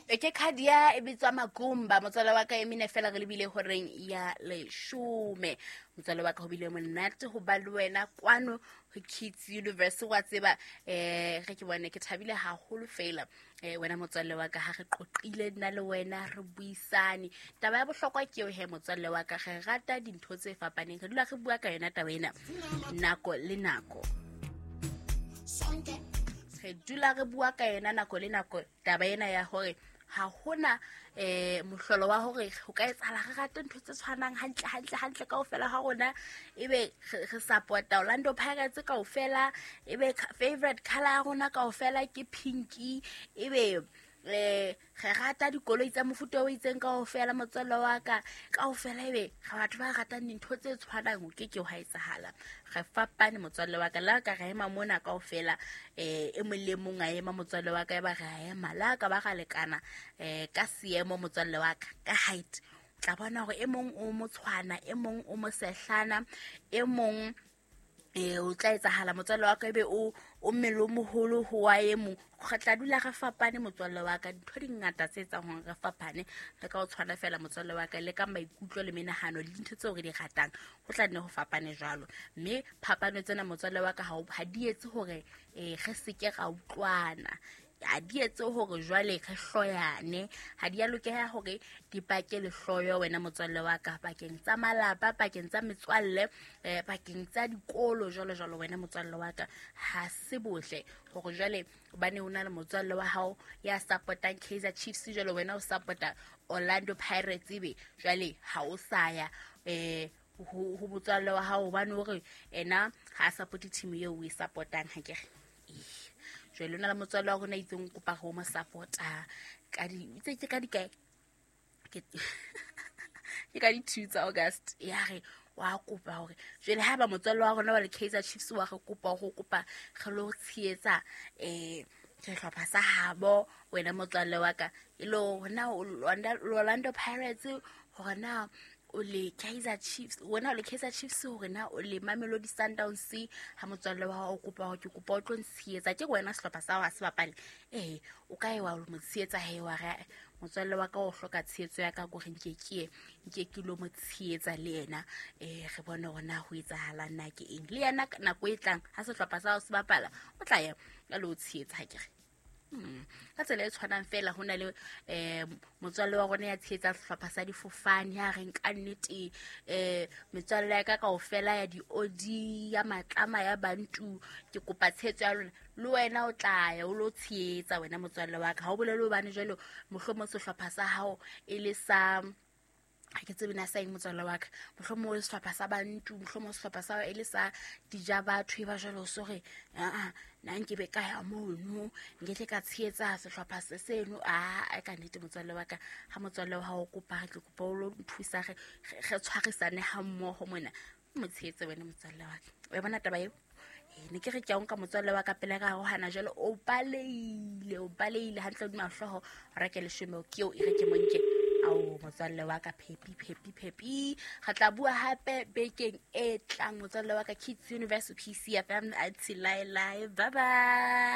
E ke khadia e bitswa Makumba, motswala wa ka e mine fela re lebile horeng ya leshome. Motswala wa ka, ho bile monate ho ba le wena kwano ho Kids Universe. Wa tseba, re ke bone ke thabile haholo fela, wena motswalle wa ka, ha re qoqile nna le wena, re buisane. Taba ya bohlokwa ke eo he, motswalle wa ka, re rata dintho tse fapaneng, re dula re bua ka yona taba ena nako le nako. Re dula re bua ka yona nako le nako taba ena ya hore ha hona mohlolo wa hore ho ka etsahala re rate ntho tse tshwanang hantle hantle hantle kaofela ha rona, ebe re support-a Orlando Pirates kaofela, ebe favorite color ya rona kaofela ke pinky, ebe re rata dikoloi tsa mofuta o itseng kaofela, motswalle wa ka, kaofela ebe re batho ba ratang dintho tse tshwanang. O ke ke wa etsahala. Re fapane, motswalle wa ka. Le ka re ema mona kaofela, e mong le mong a ema, motswalle wa ka, e ba re a ema le ka ba ra lekana ka seemo, motswalle wa ka, ka height, tla bona hore e mong o motshwana, e mong o mosehlana, e mong o tla etsahala, motswalle wa ka, ebe o mmele o moholo ho wa e mong. Re tla dula re fapane, motswalle wa ka. Dintho di ngata tse etsang hore re fapane. Le ka o tshwana fela, motswalle wa ka, le ka maikutlo le menahano le dintho tseo re di ratang, ho tla nne ho fapane jwalo. Mme phapano tsena, motswalle wa ka, ha di etse hore re seke ra utlwana, ha di etse hore jwale re hloyane. Ha di a lokeha hore di pake lehloyo, wena motswalle wa ka, pakeng tsa malapa, pakeng tsa metswalle, pakeng tsa dikolo, jwalo jwalo, wena motswalle wa ka. Ha se bohle hore jwale hobane o na le motswalle wa hao ya support-ang Kaizer Chiefs, jwale wena o support-a Orlando Pirates, ebe jwale ha o sa ya ho motswalle wa hao hobane hore ena ha a support team eo o e support-ang. Ha ke re jwale o na le motswalle wa rona itseng, kopa ho mo support-a ka di itse ke ka di kae, ke ka di-2 tsa August, ya re wa kopa hore jwale ha ba motswalle wa rona wa le Kaizer Chiefs wa re kopa ho kopa re lo tshehetsa sehlopha sa habo, wena motswalle wa ka, e le hore na Orlando Pirates, hore na o le Kaizer Chiefs, wena o le Kaizer Chiefs, hore na o le Mamelodi Sundowns. Ha motswalle wa hao o kopa hore ke kopa o tlo ntshehetsa, ke wena sehlopha sa hao ha se bapale, o ka e wa mo tshehetsa he, wa re motswalle wa ka o hloka tshehetso ya ka, kore nke ke ye nke ke lo mo tshehetsa le yena, re bone hore na ho etsahalang, na ke eng. Le yena nako e tlang ha sehlopha sa hao se bapala, o tla ya a lo tshehetsa, ha ke re? Ka tsela e tshwanang fela, ho na le motswalle wa rona ya tshehetsang sehlopha sa difofane, ya reng ka nnete, metswalle ya ka kaofela ya di-odi, ya matlama, ya bantu, ke kopa tshehetso ya lona. Le wena o tla ya o lo tshehetsa, wena motswalle wa ka. Ha o bolele hobane jwale mohlomong sehlopha sa hao e le sa, ha ke tsebe na sa eng, motswalle wa ka, mohlomong sehlopha sa bantu, mohlomong sehlopha sa e le sa dija batho, e ba jwale o so re aa, nna nkebe ka ya mono, nke ka tshehetsa sehlopha se seno. A ka nnete, motswalle wa ka, ha motswalle wa hao o kopa re ke kopa o lo nthusa, re tshwarisane ha mmoho mona, o mo tshehetse, wena motswalle wa ka. O bona taba eo? Ne ke re ke a o nka, motswalle wa ka, pele ka hana jwale o baleile, o baleile hantle hodima hlooho. Reke leshome ke eo, e re ke monke ao, motswalle wa ka. Phepi phepi phepi, re tla bua hape bekeng e tlang, motswalle wa ka. Kids Universe, PCFM, until lae lae, bye bye.